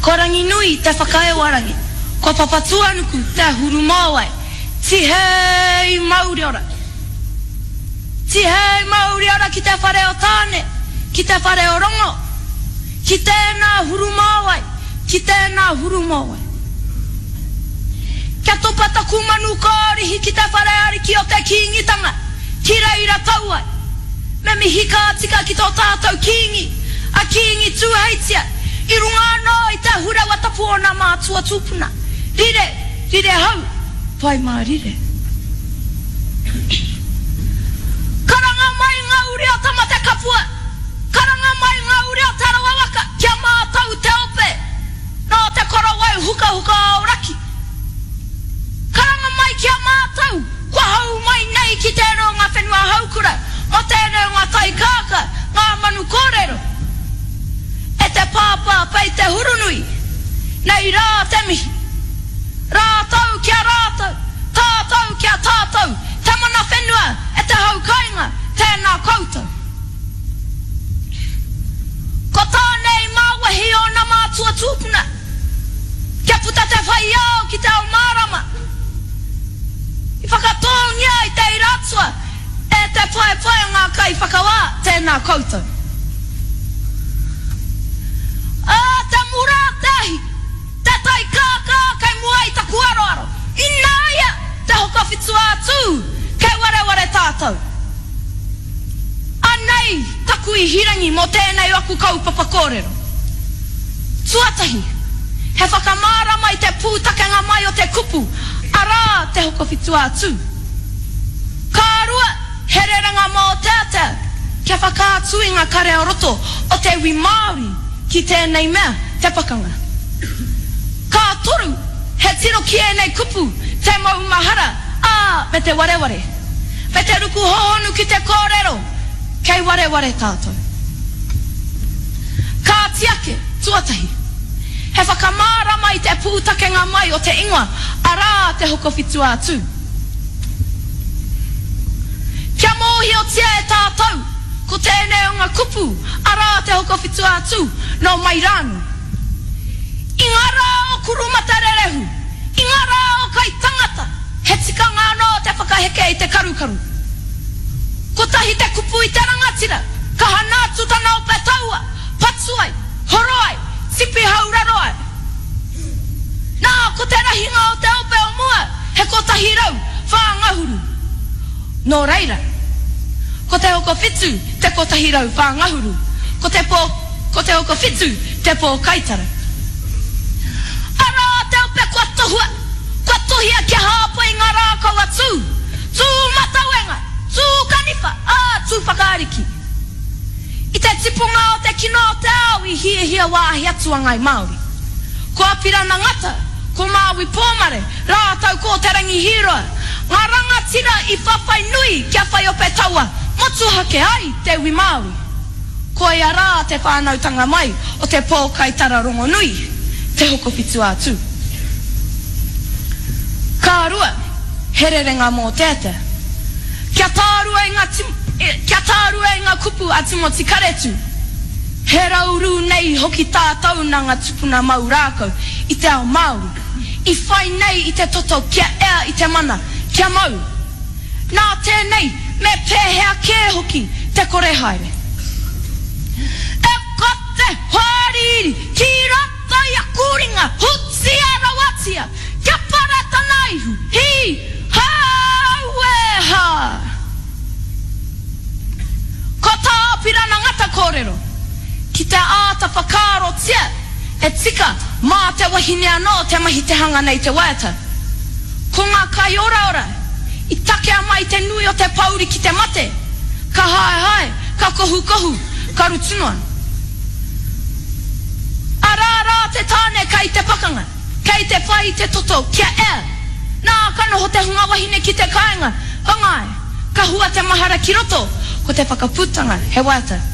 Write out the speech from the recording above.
Ko Ranginui te whakaewarangi, ko Papatūānuku te hurumāwai, Tihei mauriora! Tihei mauriora ki te whare o Tāne, ki te whare o Rongo, ki tēnā hurumāwai, ki tēnā hurumāwai. Kia topa taku manu kōrihi ki te whare ariki o te Kīngitanga, ki reira tau ai. Me mihi ka tika ki tō tātou Kīngi, a Kīngi Tūheitia, i runga anō i te ahurewa tapu o nā mātua tūpuna. Rire, rire hau, pai mārire. Karanga mai ngā uri o Tamatekapua, karanga mai ngā uri o Te Arawa waka kia mātau te ope nō te korowai hukahuka o Aoraki. Karanga mai ki a mātau kua hou mai nei ki tērā o ngā whenua haukura, mō tēnei o ngā tai kākā, ngā manu kōrero. E te pāpā pei te hurunui, nei rā te mihi. Rātou ki a rātou, tātou ki a tātou, te mana whenua e te hau kainga, tēnā koutou. Ko Tāne i māwehi ōna mātua tūpuna, kia puta te whai ao ki te ao mārama. I whakatōngia i te ira atua e te paepae o ngā kaiwhakawā, tēnā koutou. Ā, te mura o te ahi! Te tai kākā kei mua i taku aroaro, ināia te Hokowhitu-ā-Tū, kei wareware tātou. Anei taku ihirangi mō tēnei o aku kaupapa kōrero. Tuatahi, he whakamārama i te pūtakenga mai o te kupu, arā, te Hokowhitu-ā-Tū. Ka rua, he rerenga mōteatea kia whakaatu i ngā kare ā-roto o te iwi Māori ki tēnei mea, te pakanga. Ka toru, he tiro ki ēnei kupu, te maumahara, ā, me te wareware. Me te ruku hohonu ki te kōrero, kei wareware tātou. Kāti ake, tuatahi, he whakamārama i te pūtakenga mai o te ingoa, arā, te Hokowhitu-ā-Tū. Kia mōhiotia e tātou, ko tēnei o ngā kupu, arā, te Hokowhitu-ā-Tū, nō mai rānō. I ngā rā o Kurumatarerehu, i ngā rā o Kaitangata, he tikanga anō te whakaheke i te karukaru. Kotahi te kupu i te rangatira, ka hana atu tana ope taua, patu ai, horo ai, tipi hauraro ai. Nā, ko te rahinga o te ope o mua, he 104 ngahuru. Nō reira, ko te hokowhitu te 104 ngahuru, ko te pō, ko te hokowhitu te pōkaitara. Arā te ope kua tohua, kua tohia kia hāpai i ngā rākau a Tū, Tū matauenga, Tū kaniwha, ā, Tū whakaariki. I te tipunga o te kino o te ao i hiahia wāhi atu a Ngāi Māori. Ko Apirana Ngata, ko Māui Pōmare, rātou ko Te Rangi Hīroa, ngā rangatira i whawhai nui kia whai ope taua motuhake ai te iwi Māori. Koia rā te whānautanga mai o te pōkaitara rongonui, Te Hokowhitu-a-Tū. Ka rua, he rerenga mōteatea. Kia tārua i ngā Kia tārua i ngā kupu a Timoti Karetu, He raurū nei hoki tātou nā ngā tupuna mau rākau i te ao Māori, i whai nei i te toto kia ea i te mana, kia mau. Nā tēnei, me pēhea kē hoki te kore haere. E ka te hoariri ki roto i aku ringa, hutia rawatia, kia para tana ihu, hī, hā, auē hā! Ko tā Apirana Ngata kōrero, ki te āta whakaarotia e tika mā te wahine anō te mahi te hanga nei te waiata. Ko ngā kaioraora i takea mai te nui o te pōuri ki te mate, ka haehae, ka kohukohu, ka rutu noa. Arā rā te tāne kai te pakanga. Kei te whai i te toto kia ea. Nā, ka noho te hunga wahine ki te kāinga, whangai, ka hua te mahara ki roto, ko te whakaputanga he waiata.